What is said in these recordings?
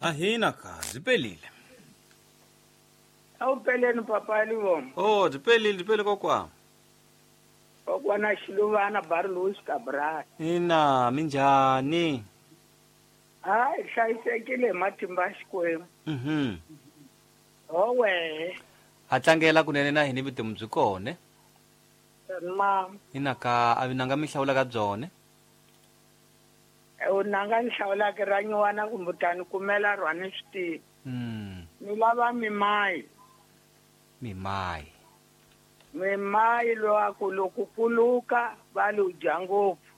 Ahina ka byi pelile. A wu peleni papa Livomo. Oh, byi pelile, byi pele kokwana. Kokwana Xiluvana Bar Louis Cabral. Ina, minjhani? Hayi, hlayisekile hi matimba ya Xikwembu. Ho wehe. Ha tlangela kunene na hina vutomi byi kona. Ma. Ina ka a vinanga mi hlawula ka byone. U nanga ni hlawulaka ra nyuwana kumbe u ta ni kumela rona ni swi tivi. Ni lava mimayi. Mimayi. Mimayi lowa ku loko kuluka va li u dya ngopfu.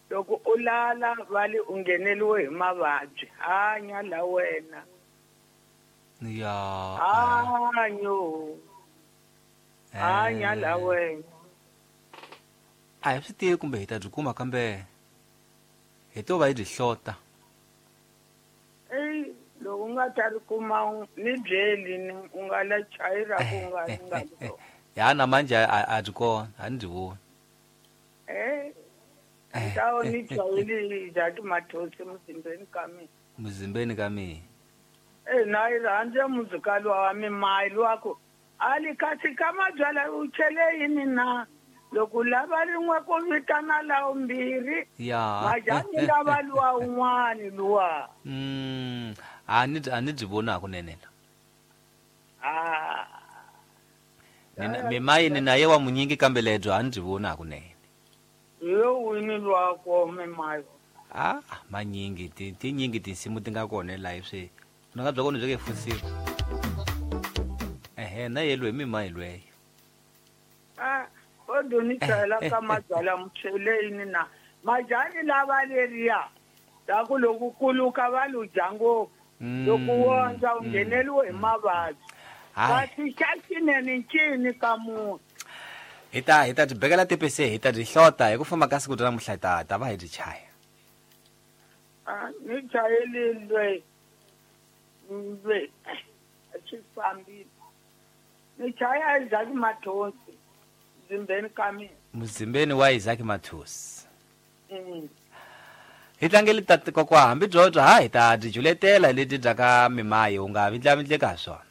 Loko u lala va li u ngheneliwe hi mavabyi. Hanya la wena. Ya. Hanyo. Hanya la wena. A hi swi tivi kumbe hi ta byi kuma kambe hi to va hi byi hlota. Ey, loko u nga ta ri kuma ni byeli ni u nga la chayira ku nga nga ri. Ya na manje a byi kona, a ni byi voni. Ntawo ni chayeli Isaac Mathosi muzimbeni ka mina. Muzimbeni ka mina. Na yi rhandza muzikalo wa mimayi luwa ku ali kasi ka mabyala u chele yini na loko lava rin'we ku vitana lawo mbirhi. Ya. Majani lava luwa un'wani luwa. A ni byi voni hakunene la. Ah. Mimayi ni na ye wa munyingi kambe lebyo a ni byi voni hakunene. Yo wini luwa ko mimayi. Ah, manyingi tinyingi tinsimu ti nga kona la swi. Nga bya kona byi ke fusiwa. Ehe, na yelwe mimayi lweyo. Ah, kodwa ni chayela ka mabyala muchele yini na majani lava leriya ta ku loko kuluka va lu dya ngopfu. Loko wondza u ngheneliwe hi mavabyi. Kasi xa xinene ncini ka munhu. Hi ta byi bekela tipese, hi ta byi hlota hi ku famba ka siku ra namuntlha hi ta va hi byi chaya. Ah, ni chayelile lwe swi fambile. Ni chaya Isaac Mathosi muzimbeni ka mina. Muzimbeni wa Isaac Mathosi. Hi tlangeli tati kokwa hambi byobyo ha hi ta byi juletela leti bya ka mimayi u nga vindlavindleka ha swona.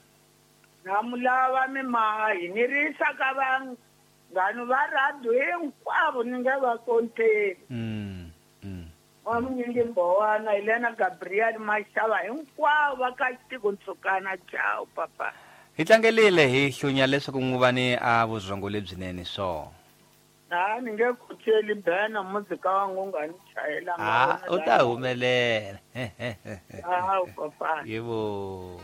Na mu lava mimayi ni risa ka vanghani va radio hinkwavo ni nge va konteli. Wa munyingi Mbowana, Helena Gabriel Mashava hinkwavo va ka Xitiko Ntsukana. Ciao papa. Hi tlangelile hi hlunya leswaku n'wuvani a vurhongo lebyinene swo. Ha ni nge kucheli bena muzika wa ngunga ni chayela. Ah, u ta humelela. Ah, papa. Yebo.